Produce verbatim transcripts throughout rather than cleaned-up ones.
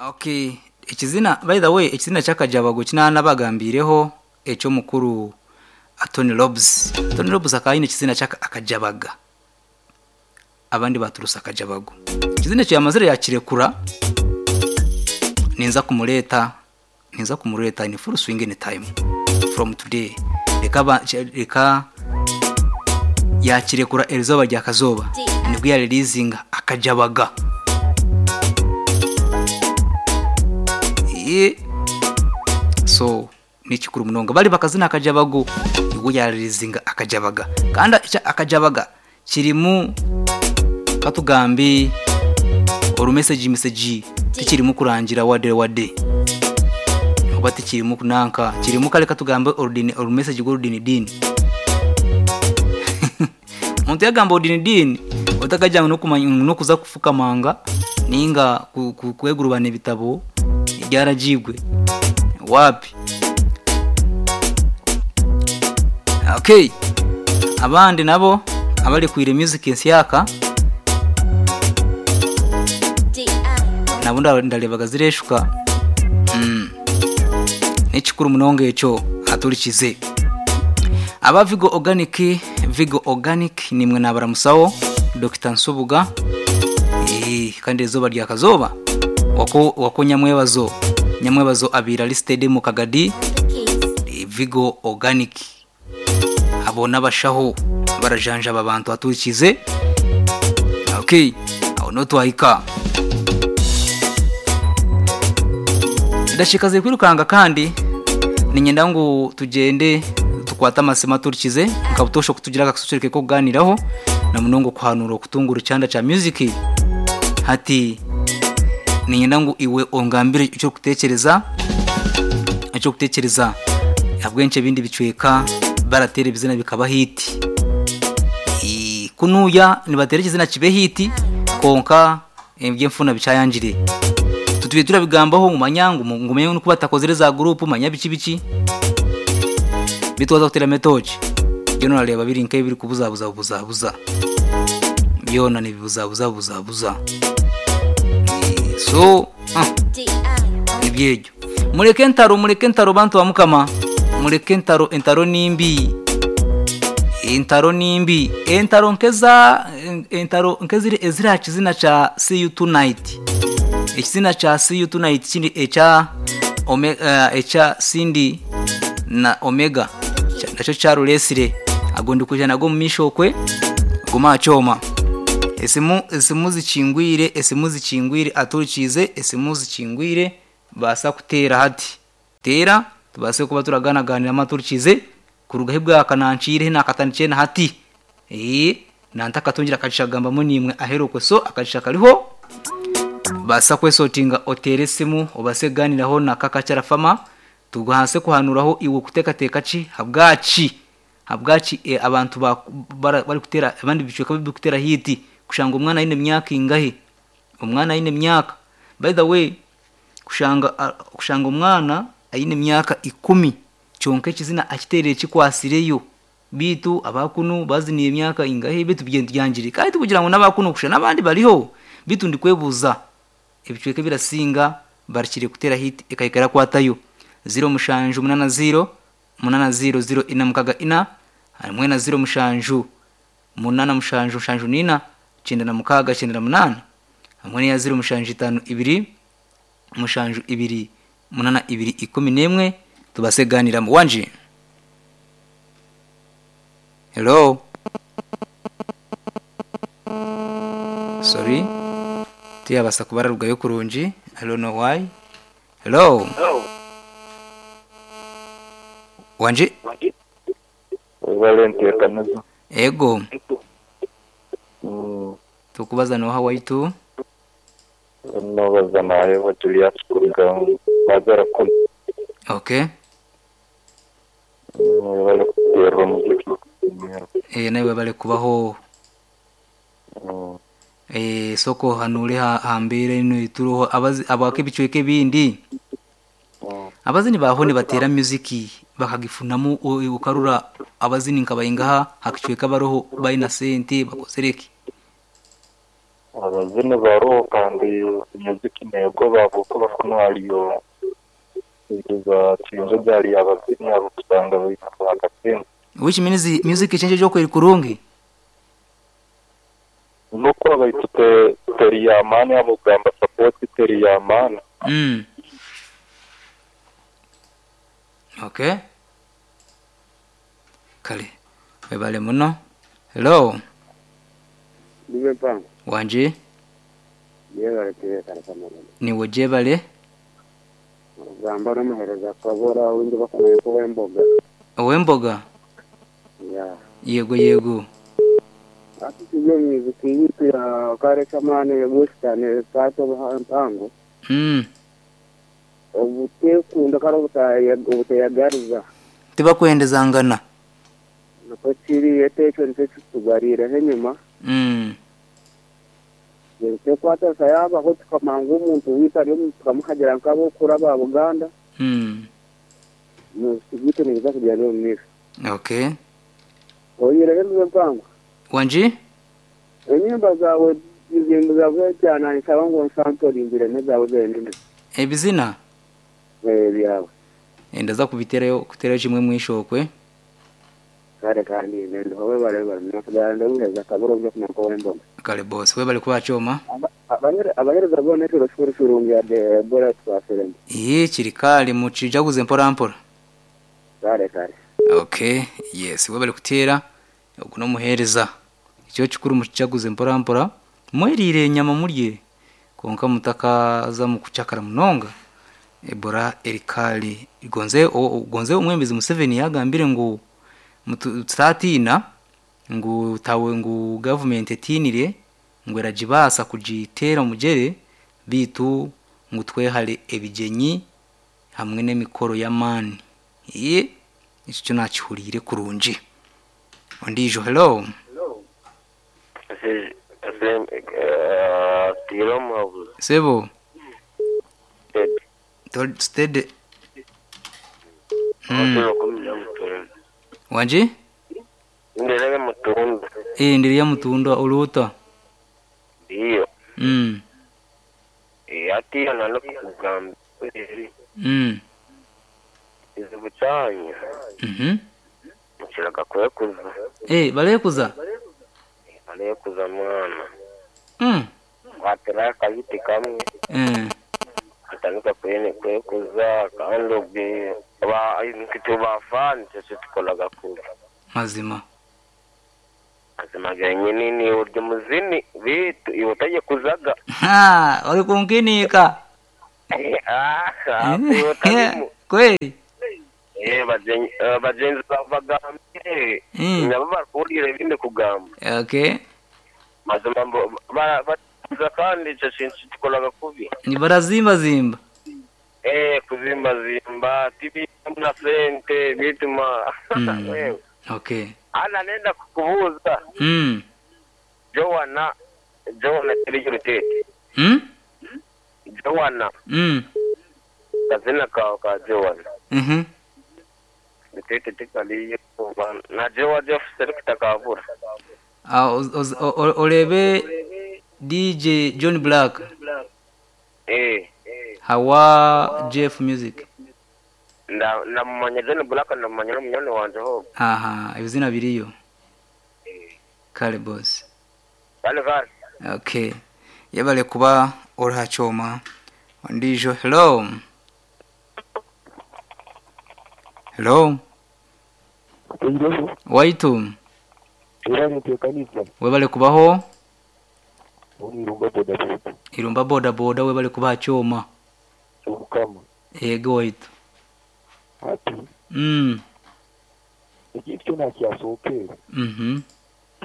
Okay, ekizina, by the way, ekizina ky'akajabago kinanabagambireho eky'omukuru Tony Robs. Tony Robs akaba aine ekizina ky'akajabaga, abandi baturusa akajabago. Ekizina ekyo yamazire yakirekura, ninza kumureeta ninza kumureeta in full swing in time from today. Reka ba- reka yakirekura erizooba rya kazooba nibwo yareleasinga akajabaga. Ee, so nikikuru munonga bari bakazina akajabago nibwo yareleasinga akajabaga. Kandi ekya akajabaga kirimu katugambe orumeseji meseji, tikirimu kurangira wade wade oba tikirimu kunanka, kirimu kare katugambe orudini orumeseji rw'orudini dini. Omuntu yagamba orudini dini otakagira ngu n'okumanya ngu n'okuza kufukamanga ninga ku- ku- kwegurubana ebitabo byaragibwe wapi. Okay, abandi nabo abari music ensyaka nabo nda- ndarebaga zireshuka. mm. Nekikuru munonga ekyo aturikize aba Vigo Organic. Vigo Organic nimwe nabaramusawo Doctor Nsubuga. Eh, kandi ezoba rya kazoba wako wako nyamwebazo nyamwebazo abira listed mu Kagadi. Eh, Vigo Organic abo n'abashaho barajanja aba bantu aturikize. Okay, aho no twahika ndashikaze kwirukanga, kandi ninyenda ngu tugende tukwate amasima turikize nkabutosha kutugira akasusurike ko kuganiraho na munongo kuhanura okutungura icyanda cya music. Hati ninyenda ngu iwe ongambire icyo kutekereza icyo kutekereza abwenshi ebindi bicweka baratera ibizina bikaba hiti. I- kunuya nibatera ikizina kibe hiti konka ebyemfuna bicayanjire tutuye turabigambaho mu manyangu ngumenye nuko batakozere za group manya biki biki bitwaza kutera metoji byo nareba biri nke biri kubuzabuza buzabuza byona ni bibuzabuza buzabuza. Eh, so ah, ibyegyo mureke ntaro mureke ntaro bantu ba mukama, mureke ntaro, entaro nimbi, entaro nimbi, entaro nkeza entaro nkeziri ezira kizina cha see you tonight. Ekizina cha see you tonight kindi ekya omega, uh, ekya Cindy na Omega Kya- nakyo kyaruresire agondi kuja nago mu misho kwe guma choma. Esimu esimu zikingwire esimu zikingwire aturikize esimu zikingwire basa kutera hati tera tubase kuba turaganaganira amaturikize kuruga hibwa kanancire nakatanice na hati eh nanta katungira akacishagamba munimwe aherokwe so akacisha kariho basa kwesotinga otere esimu obase kuganiraho na kakacara fama tuguhanse kuhanuraho iwe kutekateka ki habwaki habwaki e, abantu ba- bara- bari kutera abandi bicweka biri kutera hiti kushanga omwana aine emyaka ingahe, omwana aine emyaka, by the way, kushanga a- kushanga omwana aine emyaka ikumi kyonka ekizina akiterire kikwasireyo bitu abakunu baziniye emyaka ingahe bitu byangire kandi tukugira ngu n'abakunu kusha n'abandi bariho bitu ndikwebuza ebicweka birasinga barikire kutera hit ekahikara kwatayo ziro mushanju munana ziro munana ziro ziro ina mukaga ina hamwe na ziro mushanju munana mushanju mushanju nina cyenda na mukaga cyenda na munana hamwe n'iya ziro mushanju itanu ibiri mushanju ibiri munana ibiri ikumi n'emwe tubase kuganiramo wanje. Hello, sorry, tiyabasa kubararugayo kurungi. I don't know why. Hello, wanje. Valenti Kanazo. Ego. Mm, tukubaza noha waitu. Nobaza nawe Julius kuruga Bazara kumi. Okay. Mm, bari kuterwa muziki. Eh nawe bale kubaho. Mm, eh soko hanure ha hambere ino ituroho abazi abake bicweke bindi mm, abazini baho ni batera music bakagifunamo u- ukarura abazini nkabayingaha hakicweka baroho bayina sente bakozereke. Abazini baroho kandi muziki nego babuko bakuno haliyo za chinjo jali abazini abo kusanga bakatenda. Which means music change joko iri kurungi. Nuko abayitute teri yamani abo gamba support teri yamani. Mm. Okay. Kale. Webale muno. Hello. Ndiwe mpango. Wanje. Yebale tebe kare kamara. Ni wojebale. Gamba n'omuhereza kabora windi bakomeye kuba emboga. Owemboga. Ya. Yego yego. Ati tujye muziki yitu ya kare kamane ya tato mpango. Mm. Obutekunda kare obutaya obutayagariza. Tibakwendezangana. Nako kiri etecho nicyo kitugarira henyuma. Mm. Tekwata sayaba ho tukamanga omuntu wita ryo tukamuhagira nkabo kuraba Buganda. Mm. Muziki niza kujya no mwisho. Okay. Oyire rero mpango. Wanji? Enyimba zawe izimbu zawe cyane nsaba ngo nsantorimbire nezawe zende. Ebizina? Eh byawe. Endaza kubiterayo kuterayo kimwe mwishokwe. Kare kandi nendo howe bare bare nakuganda ngeza kaburo byo kunako wembo. Kale boss we bali kubachoma. Abanyere abahereza bone cyo shuri shurungi ya de bora twafirembe. Iye kirikali mucijaguze mpora mpora. Kare kare. Okay, yes, we bali kutera okuno muhereza. Icyo kikuru mucijaguze mpora mpora. Mwerire nyama murye konka mutakaza mu kucakara munonga. Ebola erikali gonze gonze umwembezi Museveni yagambire ngo mutatina ngu tawe ngu government etinire ngo eragibasa kugitera mugere bitu ngu twehale ebigenyi hamwe n'emikoro y'amani. Iye icyo nakihurire kurungi. Ondijo hello. Sebo. Steady. Mm. Wanje? Ndelele mutunda. Eh ndelele mutunda oluta. Ndiyo. Mm. Eh ati nalo kugamba. Mm. Izibucanya. Mhm. Mukiraga kwekuza. Eh balekuza? Balekuza mwana. Mm. Watera kayiti kamwe. Eh. Atandika kwene kwekuza kandi obwe ba nkituba fan cyo tukolaga kuba. Mazima. Mazima ganyini ni uryo muzini bitu iwotaye kuzaga. Ha, uri kunkinika. Ah, kweli. Eh bajenzi bajenzi bagambye. Nabo bakurire binde kugamba. Okay. Mazima ba kandi icyo kintu tukolaga kubi. Ni barazimba zimba. Eh kuzimba zimba tibi na sente bituma. Mm. Okay. Ana nenda kukubuza. Mm. Joana Joana tiri rutete. Mm? Joana. Mm. Kazina ka ka Joana. Mhm. Rutete tikali na Joa Jeff selekta kabura. Ah olebe D J John Black. Eh. Hawa Jeff Music. Na na mumanya John Black na mumanya munyone wanje ho. Aha, ibizina biriyo. Eh. Kale boss. Kale kale. Okay. Yabale kuba orachoma. Ndijo hello. Hello. Hello. Waitu. Webale kubaho. Irumba boda boda. Irumba boda boda webale kuba choma. Ukama. Yego waitu. Ati. Mm. Ekintu kyona kyasookera. Mhm.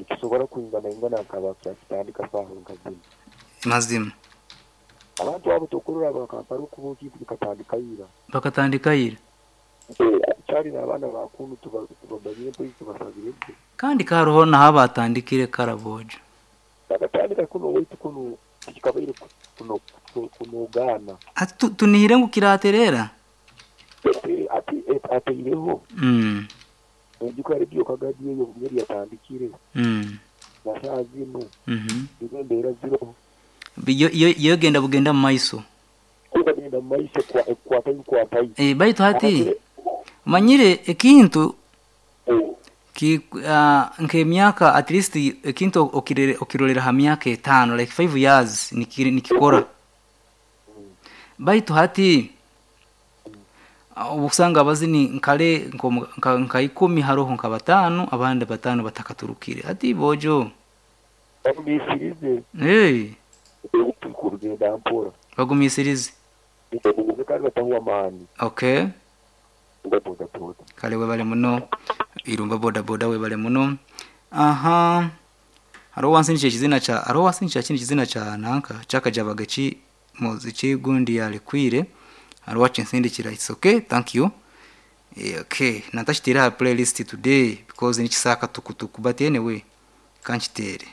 Kisobola kwingana ingana akaba kyakitandika saaha nkazini. Mazima. Abantu abo tokurora bakampara okuba okintu bikatandika ira. Bakatandika ira. Kyali n'abaana bakunu tubabanyire polisi tubasabire. Kandi karoho naho batandikire karabojo. Bakatandika kuno waitu kuno kikabaire kuno kunogana. Ati tunihire ngu kiraterera. Ati ateireho. Mm. Enjuka radio kagadi eyo yari yatandikire. Mm. Na zinu Mhm. nizo embeera ziriho. Biyo- yo yo genda bugenda mu maiso. Kugenda mu maiso ekwata bikwatayo. Eh, baitu hati manyire ekintu ki uh, nk'emyaka at least ekintu okirere okirolera ha myaka etaano, like five years nikiri nikikora. Baitu hati ah, obusanga abazini nkale nko- nka, nka ikumi haroho nka batano, abandi batano batakaturukire hati bojo. Bagumisirize. Hey. Kurugenda mpora. Bagumisirize. Bagumize kandi batahuwa amaani. Okay. Boda boda. Kale, webale muno, Irumba boda boda, webale muno. Aha, hariho wansindikira ekizina kya, hariho wansindikira kindi kizina kya nanka kyakajabaga ki muziki gundi yalekwire, hariho wakinsindikira. It's okay, thank you. Eh, okay, natakiteere aha playlist today because nikisaka tukutuku, but anyway, kankitere.